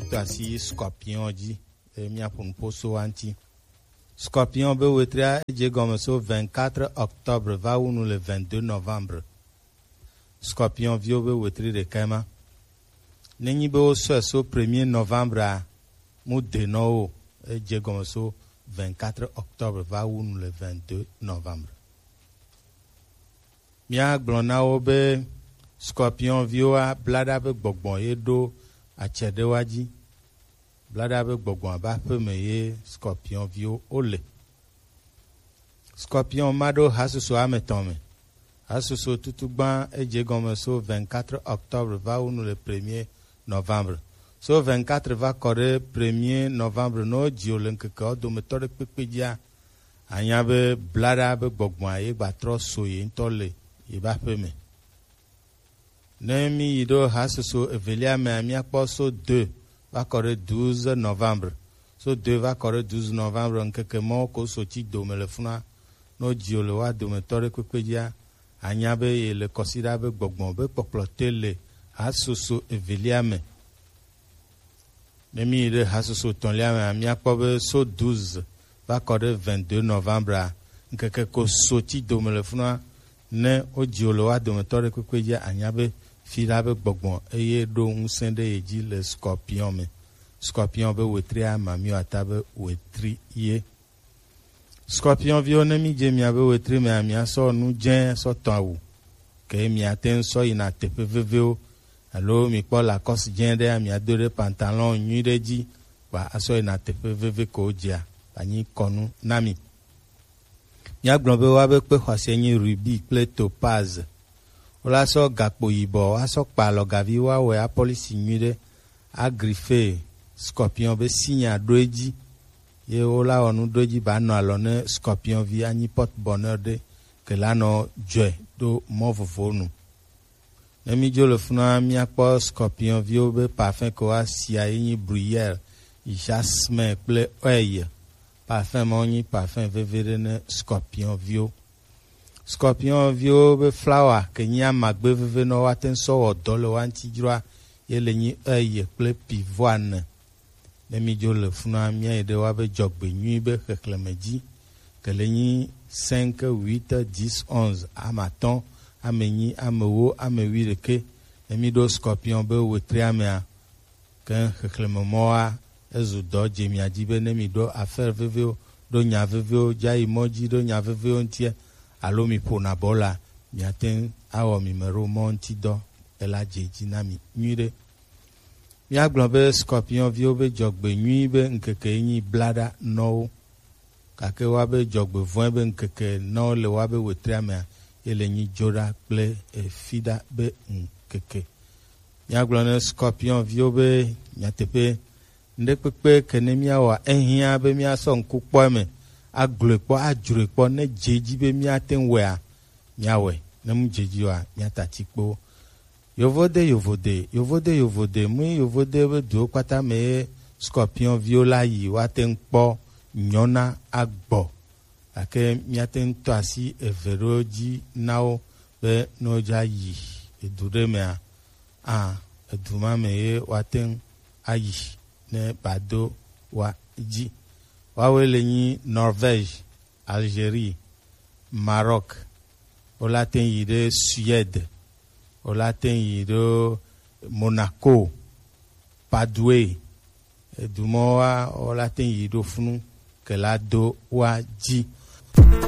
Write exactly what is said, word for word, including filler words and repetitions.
to asi Scorpion dzi, e, míaƒo nuƒo so wa ŋuti. Scorpion be wetria edze gɔme so vingt-quatre octobre va wu nu le vingt-deux novembre. Scorpion viwo be wetri ɖekae ma. Nenyi be wosɔe so premier novembre a, mu de nɔ wo, edze gɔme so vingt-quatre octobre va wu nu le vingt-deux novembre. Míagblɔ na wo be Scorpion viwoa, blaɖa be gbɔgbɔ ye ɖo atsɛ ɖe wa dzi. Blaɖa be gbɔgbɔ be aƒe me ye Scorpion viwo wole. Scorpion ma ɖo hasusu ame etɔ̃ me. Hasusu tutugba edze gɔme so vingt-quatre octobre va wu nu le premier novembre. So vingt-quatre va kɔ ɖe premier novembre, ne wodzi wo le ŋkekewo dometɔ ɖe kpekpe dzia, anya be blaɖa be gbɔgbɔa ye gba trɔ so ye ŋutɔ le ye be aƒe me. Ne mí yi ɖo hasusu evelia mea, míakpɔ so deux va kɔ ɖe douze novembre. So deux va kɔ ɖe douze novembre, ŋkeke mɔwo ko so tsi dome le funua. Ne wodzi wo le wa dometɔ ɖe kpekpe dzia, anya be ye le kɔsiɖa be gbɔgbɔ be kpɔkplɔ te le hasusu evelia me. Ne mí yi ɖe hasusu etɔ̃lia mea, míakpɔ be so douze va kɔ ɖe vingt-deux novembre a, ŋkeke ko so tsi dome le funua. Ne wodzi wo le wa dometɔ ɖe kpekpe dzia, anya be fiɖa be gbɔgbɔ eye ɖo ŋusẽ ɖe ye dzi le Scorpion me. Scorpion be wetria, mamiwo ata be wetri ye. Scorpion viwo, ne mí dze mia be wetri mea, mia sɔ nu dzẽ sɔ tɔ awu. Ke mia te ŋu sɔ yina teƒe vevewo. Alo mi kpɔ Lacoste dzẽ ɖe, mia do ɖe pantalon nyui ɖe dzi, kpa asɔ yina teƒe veve ko dzia, anyi kɔnu na mi. Míagblɔ be woabe kpe xɔasiae nyi rubi kple topaz. Wola sɔ gakpo yibɔ, woasɔ kpa alɔgavi, woawɔe apolisi nyui ɖe, agrife Scorpion be sinya ɖo edzi, ye wola wɔ nu ɖo edzi ba nɔ alɔ ne Scorpion vi anyi porte bonheur ɖe, ke la nɔ dzɔe ɖo mɔ vovowo nu. Ne mí dzo le funua, míakpɔ Scorpion viwo be parfum ke woasia ye nyi bruyère, jasmin kple oeil. Parfum mawo nyi parfum veve ɖe ne Scorpion viwo. Scorpion viwo be flawa ke nyi amagbe veve nɔ woate ŋu sɔ wɔ dɔ le wa ŋuti dzroa, ye le nyi oeil kple pivoine. Ne mí dzo le funua, míayi ɖe woabe dzɔgbe nyui be xexlẽme dzi. Ke le nyi cinq, huit, dix, onze, ame atɔ̃, ame enyi, ame ewo, ame wuiɖekɛ. Ne mí ɖo Scorpion be wetri amea, ke xexlẽme mɔwoa, ezu dɔ dze mia dzi be ne mí ɖo affaire vevewo, ɖo nya vevewo, dza yi mɔ dzi ɖo nya vevewo ŋutia, alo mí ƒona bɔla, miate ŋu awɔ mí me ɖo mɔ ŋuti dɔ, ela dze dzi na mi nyui ɖe. Míagblɔ be Scorpion viwo be dzɔgbe nyui be ŋkeke ye nyi blaɖa nɔwo, gake woabe dzɔgbe vɔ̃e be ŋkeke nɔwo le woabe wetria mea, ye le nyi dzoɖa kple efiɖa be ŋkeke. Míagblɔ ne Scorpion viwo be nyateƒe, ŋɖekpekpe ke ne míawɔa, ehiã be míasɔ ŋku kpɔ eme, agblɔe kpɔ, adzroe kpɔ, ne dze edzi be míate ŋu wɔea, míawɔe, ne mu dze edzi oa, míata tsi kpo. Yovode, yovode, yovode, yovode, mui yovode be duwo kpata me ye Scorpion viwo la yi, woate ŋu kpɔ nyɔna agbɔ. Gake míate ŋu tɔ asi eve ɖewo dzi na wo be ne wodza yi edu ɖe mea, a, edu ma me ye woate ŋu ayi ne ba do wa dzi. Woawoe le nyi Norvège, Algérie, Maroc, wola te yi ɖe Suède, wola te yi ɖo Monaco, Padoue, edumɔwoa, wola te yi ɖo funu ke la do wa dzi.